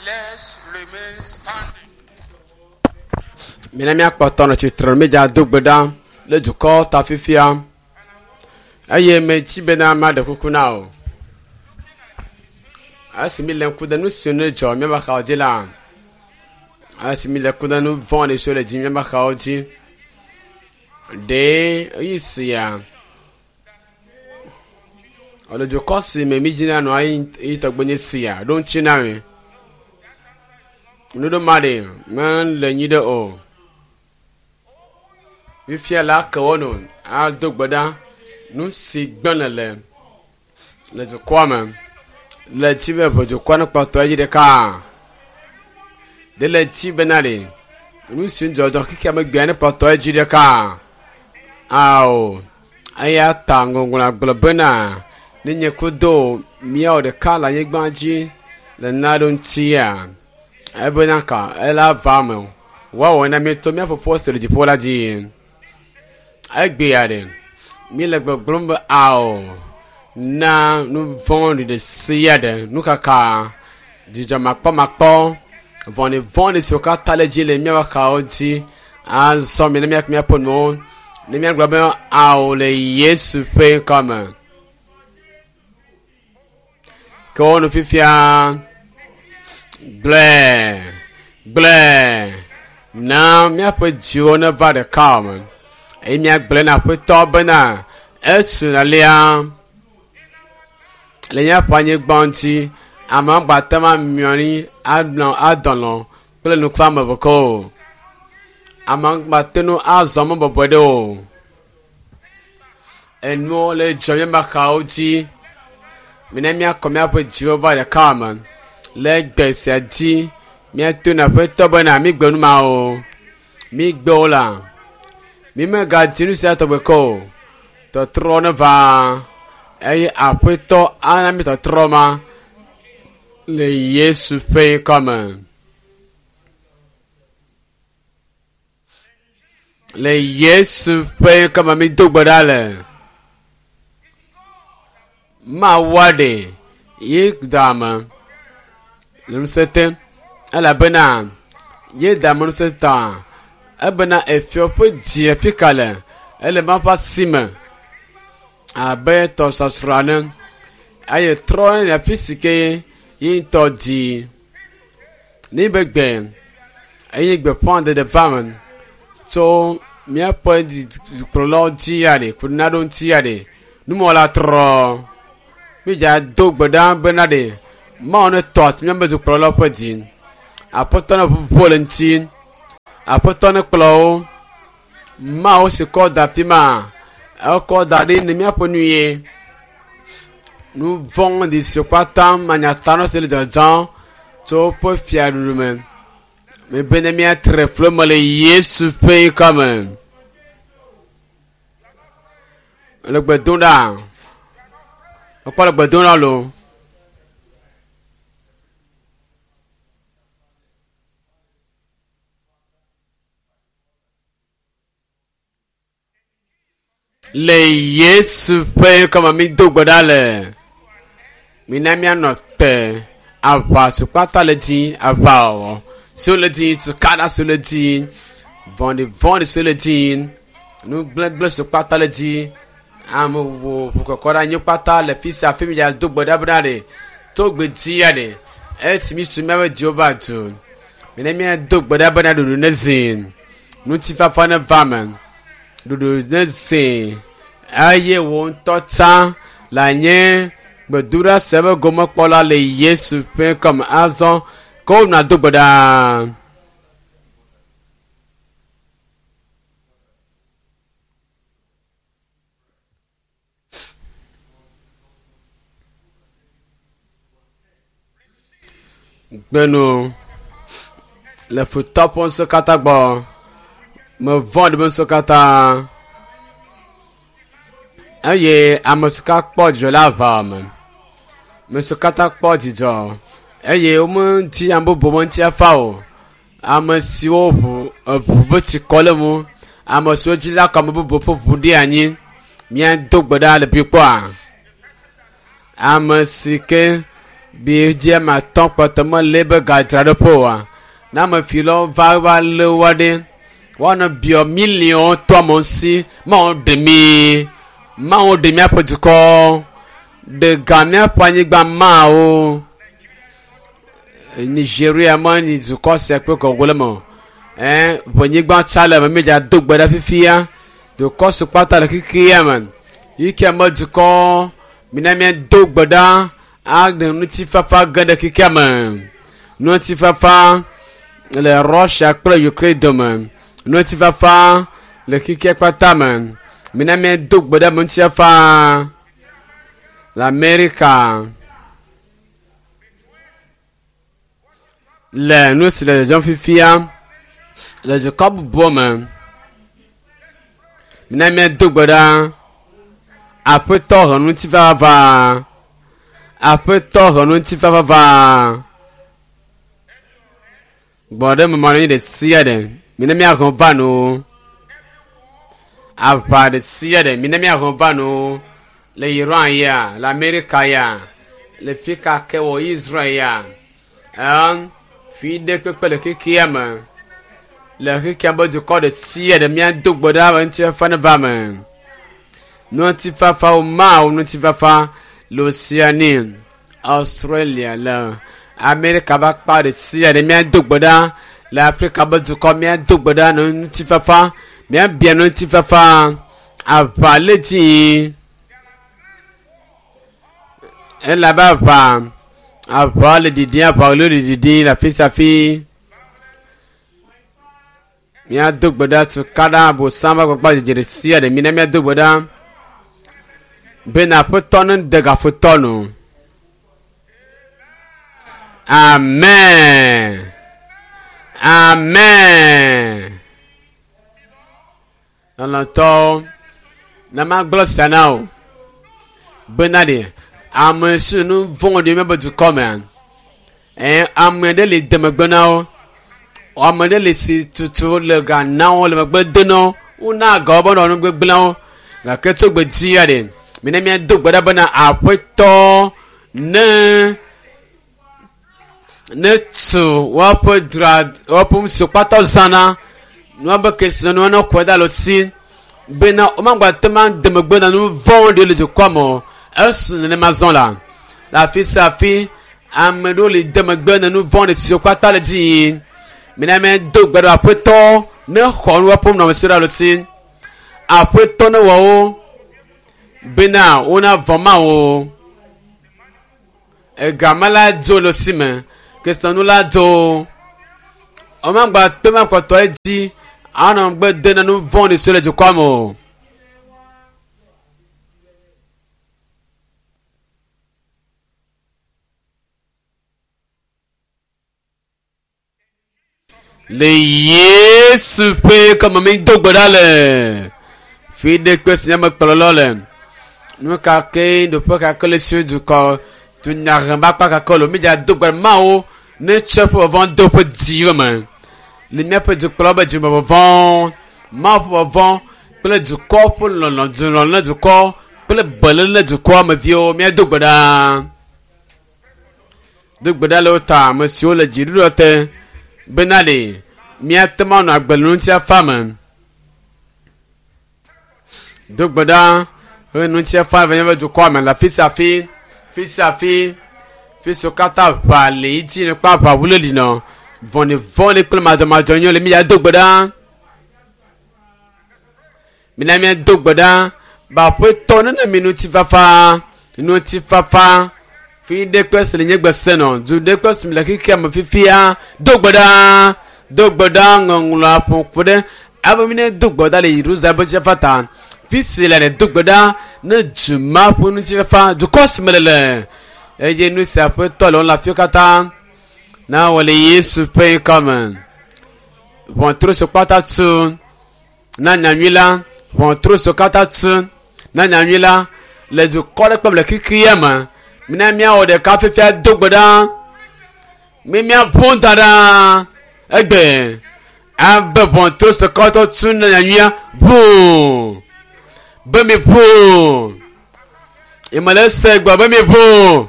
Let's remain standing. Mina míakpɔtɔ nɔ tsitre mídza do gbe ɖa le dukɔ ta fifia eye metsi bena maɖe kuku na o. Esi mi le ŋku ɖe nu si ne dzɔ míaƒe xawo dzi la, esi mi le ŋku ɖe nu vɔ̃ɖi siwo le dzi míaƒe xawo dzi, ɖe ɣeyiɣi sia alo dukɔ si me mídzina nɔa yi tɔgbe nye sia ɖo ŋuti na mi. Nuɖo ma ɖe mele nyi ɖe o. Fifia la ke wo nu ado gbe ɖa nu si gblẽ le le dukɔa me le dzi be ʋe dukɔa ne kpɔtɔ edzi ɖeka. Ɖe le dzi bena ɖe nu si dzɔdzɔ xexea me gbea ne kpɔtɔ edzi ɖeka. Ao eya ta ŋɔŋlɔa gblɔ bena ne nye kudo míawo ɖeka le anyigba dzi le naɖo ŋutia ebena ka ela va me o. Woawɔ na mi to mía Fofo si le dziƒo la dzi. Egbea ɖe, míele gbɔgblɔm be ao na nu vɔ̃ɖi ɖe sia ɖe, nukaka, dzidzɔmakpɔmakpɔ, vɔ̃ɖivɔ̃ɖi siwo katã le dzi le míaƒe xawo dzi. Azɔ mi ne míaƒe míaƒe nuwo ne míagblɔ be ao le Yesu ƒe ŋkɔ me. Ke wo nu fifia gblɔe gblɔe na míaƒe dziwo neva ɖeka me eye míagblɔe na aƒetɔ bena esu alea le míaƒe anyigba ŋuti ame gbate ma miɔ anyi anɔ adɔlɔ kple nukuame bɔkɔ o. Ame gbate nu azɔ mɔ bɔbɔe ɖe o. Enuwo le dzɔ míaƒe axawo dzi. Mina míakɔ míaƒe dziwo va ɖeka me le gbe sia dzi. Míato na aƒetɔ bena mígbe nu ma o. Mígbe wo la. Mímegadi nu sia tɔgbe ke o. Tɔtrɔ ne va eye aƒetɔ ana mí tɔtrɔ ma le Yesu ƒe ŋkɔ me. Le Yesu ƒe ŋkɔ me mído gbe ɖa le. Mawu aɖe ye da ame le ŋusẽ te elabena ye da ame ŋusẽ ta ebena efiɔ ƒe dzi afi ka le ele Mawu ƒe asi me abe tɔsɔsrɔ̃ ene eye trɔ le afi si ke ye ŋutɔ di. Ne be gbe eye gbeƒãɖeɖe va me tso míaƒe dukplɔlawo dzi ya ɖe ku naɖo ŋuti ya ɖe numɔla trɔ. Mídza do gbe ɖa bena ɖe Mawu ne tɔ asi míaƒe dukplɔlawo ƒe dzi. Aƒetɔ ne ʋuʋu le ŋuti. Aƒetɔ ne kplɔ wo. Mawu si kɔ da afi ma ekɔ da ɖi ne míaƒe nu ye. Nu vɔ̃ɖi siwo katã manyatanɔ si le dzɔdzɔm tso woƒe fiaɖuɖu me. Mebe ne míatre flu me le Yesu ƒe ŋkɔ me. Le gbe dom ɖa. Mekpɔ le gbe dom ɖa loo. Le Yesu ƒe ŋkɔ me mído gbe ɖa le. Mina míanɔ te aʋa si kpata le dzi, aʋawɔwɔ siwo le dzi, tukaɖa siwo le dzi, vɔ̃ɖivɔ̃ɖi siwo le dzi, nu gblegble siwo kpata le dzi, ame vovovo ʋukɔkɔ ɖe anyi kpata le fi sia fi mi dza do gbe ɖa bena ɖe to gbe dzi ya ɖe esi mi tu míaƒe dziwo va du. Mina míado gbe ɖa bena ɖoɖo ne zi, ŋutifafa ne va me. Ɖoɖo ne zi eye wò ŋutɔ tsã le nye gbedoɖa sia ƒe gomekpɔla le Yesu ƒe ŋkɔ me. Azɔ ke wonɔ do gbe ɖa. Gbenu le futɔ ƒe ŋusẽ katã gbɔ. Mevɔ̃ ɖe ŋusẽ katã. Eye ame si ka kpɔ dzidzɔ le aʋa me. Ame si katã kpɔ dzidzɔ eye womedi ame bubu be ŋutifafa o. Ame siwo ʋu eʋu be tsikɔ le ŋu. Ame siwo dzi la kɔ ame bubu ƒe ʋu ɖi anyi. Míado gbe ɖa le bi kpɔa. Ame si ke Bi dzi ame atɔ̃ kpɔtɔ mele ebe gadzraɖoƒe oa. Ne ame filawo va va lé woa ɖe, woanɔ biɔ miliɔnwo to amewo si. Mawu ɖe mi. Mawu ɖe míaƒe dukɔ. Ɖe ga míaƒe anyigba mawo. Nigeria me nyi dukɔ sia kple gɔgɔ le me o. Ɛɛ ʋenyigba tsa le eme míedza do gbe ɖa fifia. Dukɔ si kpata le xexea me. Yi ke me dukɔ mina míado gbe ɖa aɖe ŋutifafa ge ɖe xexea me. Ŋutifafa le Russia kple Ukraine dome. Ŋutifafa le xexea kpata me. Mina míado gbe ɖa ŋutifafa le Amerika. Le nu si le dzɔdzɔm fifia le dukɔ bubuwo me. Mina míado gbe ɖa. Aƒetɔ he ŋutifafa. Aƒetɔ he ŋutifafa. Gbɔ ɖe me manɔ anyi ɖe sia ɖe. Mina míahe va no. Aʋa ɖe sia ɖe. Mina míahe va no. Le Iran ya, le Amerika ya, le fi ka ke wɔ Israel ya. Ɛn, fi ɖe kpekpe le xexea me. Le xexea be dukɔ ɖe sia ɖe míado gbe ɖa be ŋutifafa neva me. Ŋutifafa wo Mawu ŋutifafa le Oceania, Australia le Amerika ƒe akpa ɖe sia ɖe míado gbe ɖa le Afrika be dukɔ míado gbe ɖa ne ŋutifafa míabia ŋutifafa aʋa le dzi elabe aʋa aʋa le ɖiɖim aʋa le ɖiɖim le afi sia afi. Míado gbe ɖa tukaɖa abosam ƒe agbagbadzedze ɖe sia ɖe mina míado gbe ɖa bena aƒetɔ ne de gafotɔ nu. Amen. Amen. Lɔlɔ̃tɔwo, ne magblɔ sia na wò bena ɖe ame si nu vɔ̃ɖi míaƒe dukɔ mea, ɛɛ ame ɖe le de megbe na wo. Ame ɖe le si tutu le ga na wo le megbe de na wo. Wona ga wo be wonɔ nu gbegblẽwo. Gake tso gbe dzia ɖe, mina míado gbe ɖa bena aƒetɔ ne ne tu woaƒe dzra woaƒe nu siwo kpata zãna nuabe kesinɔnuwo ne xɔe da le si bena womagba te ma de megbe na nu vɔ̃wo ɖe le dukɔa me o. Esi nenema zɔ la, le afi sia afi ame ɖewo le de megbe na nu vɔ̃ɖi siwo kpata le dzi yim. Mina míado gbe ɖa aƒetɔ ne xɔ nu woaƒe nunɔamesiwo ɖa le si. Aƒetɔ ne wɔ wo bena wonavɔ̃ Mawu. Egame la dzo le si me, kesinɔnu la dzo. Womagba te ma kpɔtɔ edzi anɔ megbe de na nu vɔ̃ɖi siwo le dukɔa me o. Le Yesu ƒe kɔme mi do gbe ɖa le fi ɖe kpe si nye kplɔlɔ le. Nu ka ke ɖoƒe ka ke le si dukɔ dunyahe ƒe akpa ka ke le mi dza do gbe ɖa Mawu ne tsɔ eƒe vɔvɔ̃ do eƒe dziwo me. Le míaƒe dukplɔlawo be dzime vɔvɔ̃, Mawu ƒe vɔvɔ̃ kple dukɔ ƒe lɔlɔ̃, dulɔlɔ̃ na dukɔ kple beléle na dukɔa me viwo míado gbe ɖa. Do gbe ɖa le wo ta ame siwo le dziɖuɖua te bena ɖe míate ŋu anɔ agbe le ŋutifafa me. Do gbe ɖa be ŋutifafa va míaƒe dukɔa me le afi sia afi, fi sia afi, fi siwo katã aʋa le edzi le kple aʋawu le li nɔ vɔ̃ɖivɔ̃ɖi kple madzɔmadzɔnyenye le mía do gbe ɖa. Mina míado gbe ɖa be aƒetɔ nena mi ŋutifafa, ŋutifafa fi ɖe kple si le nye gbe se nɔ du ɖe kple si le xexea me fifia do gbe ɖa do gbe ɖa ŋɔŋlɔa ƒo ƒo ɖe abe mi ne do gbe ɖa le Yerusalem ƒe ŋutifafa ta fi si le ne do gbe ɖa ne du ma ƒe ŋutifafa dukɔ si me le le eye nu sia aƒetɔ le wo le afiwo katã na wɔ le Yesu ƒe ŋkɔ me ʋɔtru si kpata tu na nyanyui la ʋɔtru siwo katã tu na nyanyui la le dukɔ ɖe kpem le xexea me mina míawɔ ɖeka fifia do gbe ɖa mi míaƒo da ɖa egbe abe ʋɔtru siwo katã tu na nyanyuia ʋu be mi ʋu emele se gbe be mi ʋu.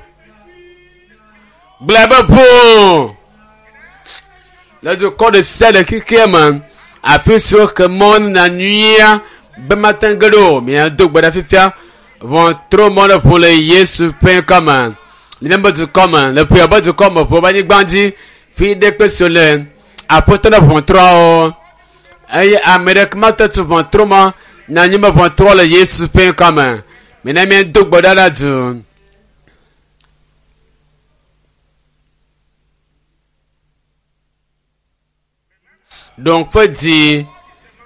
Gblɔe be ʋuu le dukɔ ɖe sia ɖe xexea me afi si woxe mɔ na nyuia be mate ŋu ge ɖo o. Miado gbe ɖa fifia. Ʋɔtru mɔ ɖe ʋu le Yesu ƒe ŋkɔ me. Le míaƒe dukɔ me, le ƒea ƒe dukɔ me, ƒe anyigba dzi, fi ɖe kpe si le aƒetɔ ɖe ʋɔtruawo. Eye ame ɖeke mate tu ʋɔtru mɔ na nyi be ʋɔtrua le Yesu ƒe ŋkɔ me. Mina míado gbe ɖa ɖe du. Ɖoŋƒe dzi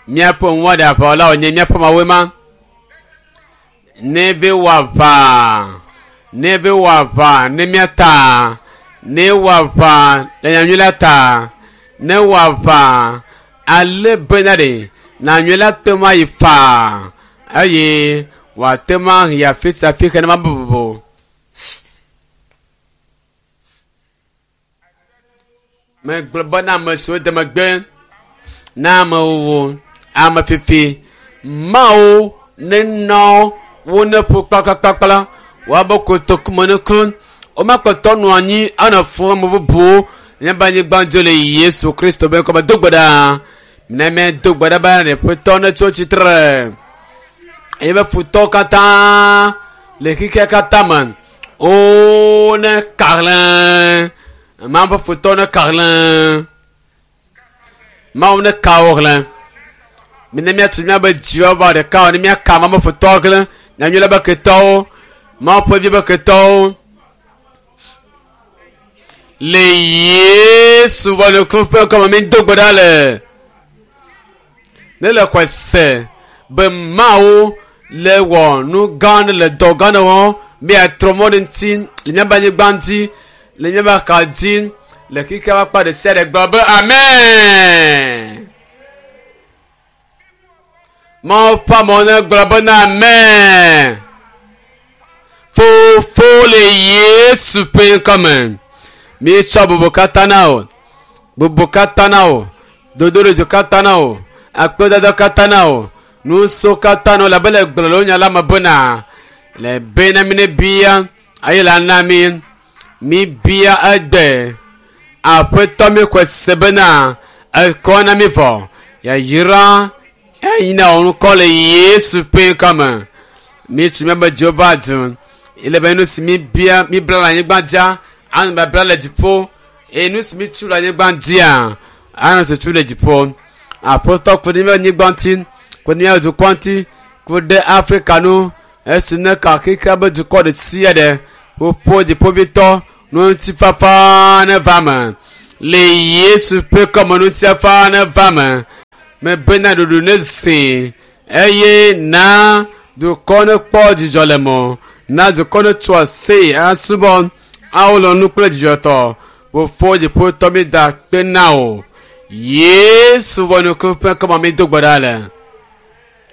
míaƒe ŋuwɔɖe aʋawɔlawo nye míaƒe mawoe ma. Ne ve wɔ aʋa, ne ve wɔ aʋa ne mía ta, ne wɔ aʋa le nyanyui la ta, ne wɔ aʋa ale bena ɖe nyanyui la te ŋu ayi faa eye wòate ŋu ayi afi sia afi ke ne ma bubu. Megblɔ bena ame siwo de megbe na amewuwu, ame fifi, Mawu nenɔ wo ne ƒu kplakplakplakpla, woabe kotoku me nuku, womakpɔtɔ nɔ anyi anɔ fũ ame bubuwo míaƒe anyigba dzo le Yesu Kristo be ŋkɔme. Do gbe ɖa. Ne míedo gbe ɖa be ne ƒetɔ netso tsitre eye be futɔwo katã le xexea katã me wo ne kahlẽ Mawu ƒe futɔwo ne kahlẽ Mawu ne ka wo hlẽ mine míatu míabe dziwo va ɖeka o ne míaka Mawu ƒe futɔwo hlẽ nyanyui la be ketɔwo Mawu ƒe vi be ketɔwo le Yesu ƒe nuku ƒe ŋkɔme mi do gbe ɖa le ne le xɔe se be Mawu le wɔ nu gã aɖe le dɔ gã aɖe wɔm be yeatrɔ mɔ ɖe ŋuti le míaƒe anyigba ŋuti le míaƒe axa dzi le xexea ƒe akpa ɖe sia ɖe gblɔ be amen. Mawu ƒe amewo ne gblɔ bena amen. Fofo le Yesu ƒe ŋkɔ me. Míetsɔ bubu katã na wò. Bubu katã na wò. Dodoɖedzo katã na wò. Akpedada katã na wò. Nuso katã na wò labe le gblɔ le wò nya la me bena le bena mi ne bia eye la na mi. Mi bia egbe. Aƒetɔ mi xɔe se bena ekɔ na mi vɔ. Yayra eyina wò ŋkɔ le Yesu ƒe ŋkɔ me. Míetsi míaƒe dziwo va du. Ele be nu si míbia míbla le anyigba dzia anɔ babla le dziƒo eye nu si mítu le anyigba dzia anɔ tutu le dziƒo. Aƒetɔ ku ɖe míaƒe anyigba ŋuti, ku ɖe míaƒe dukɔ ŋuti, ku ɖe Afrika nu esi ne ka xexea be dukɔ ɖe sia ɖe ƒoƒo dziƒovitɔ ŋutifafa neva me. Le Yesu ƒe kɔme ŋutifafa neva me. Mebena ɖuɖu ne zi eye na dukɔ ne kpɔ dzidzɔ le mɔ. Na dukɔ ne tso asi asubɔ awolɔ nu kple dzidzɔtɔ. Fofo dziƒotɔ mi da kpe na wò. Yesu ƒe nuku ƒe kɔme mi do gbe ɖa le.